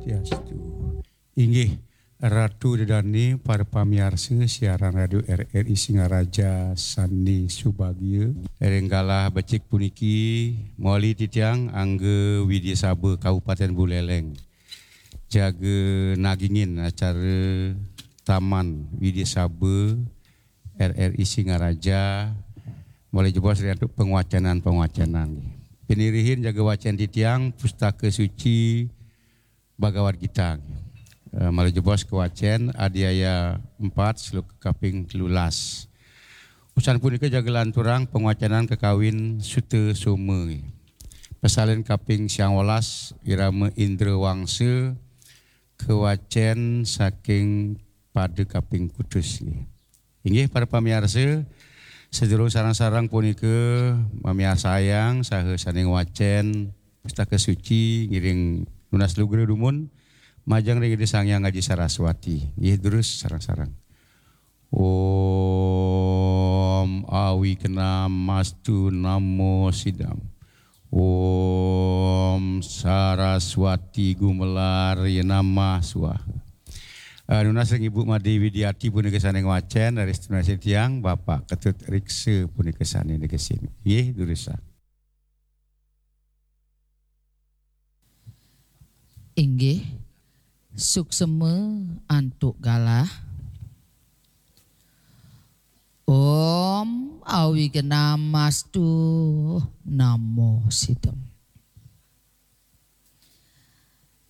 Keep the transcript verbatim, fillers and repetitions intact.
Swastiastu. Inggih, Ratu Dedane, para pamiarsa siaran Radio R R I Singaraja sane subagia. Ring galah becik puniki, mawali titiang angga Widya Saba Kabupaten Buleleng jaga nagingin acara Taman Widya Saba R R I Singaraja, mawali jebos ring antuk pangwacenan-pangwacenan. Pinirihin jaga wacen titiang Pustaka Suci Bhagavad Gita. Eh, mawali jebos kawacen Adhyaya empat, sloka kaping telulas. Usan punika jaga lanturang pangwacenan kakawin Suta Soma. Pasalin kaping siang welas, irama Indra Wangsa, kawacen saking pada kaping kutus. Inggih, para pamiarsa, sadurung sareng-sareng punika mamiarsayang saha sane ngwacen Pustaka Suci ngiring nunas lugra dumun, majeng ring Ida Sang Hyang Aji Saraswati. Inggih, durus sareng-sareng. Om Awighnamastu Namo Siddham. Om Saraswati Gumelar Namah Swaha. Eh, nunas ring Ibu Made Widiati punika sane ngwacen, raris nunas tiang Bapak Ketut Riksa punika sane negesin. Nggih, durusang. Inggih, suksma antuk galah. Om Awighnamastu Namo Siddham.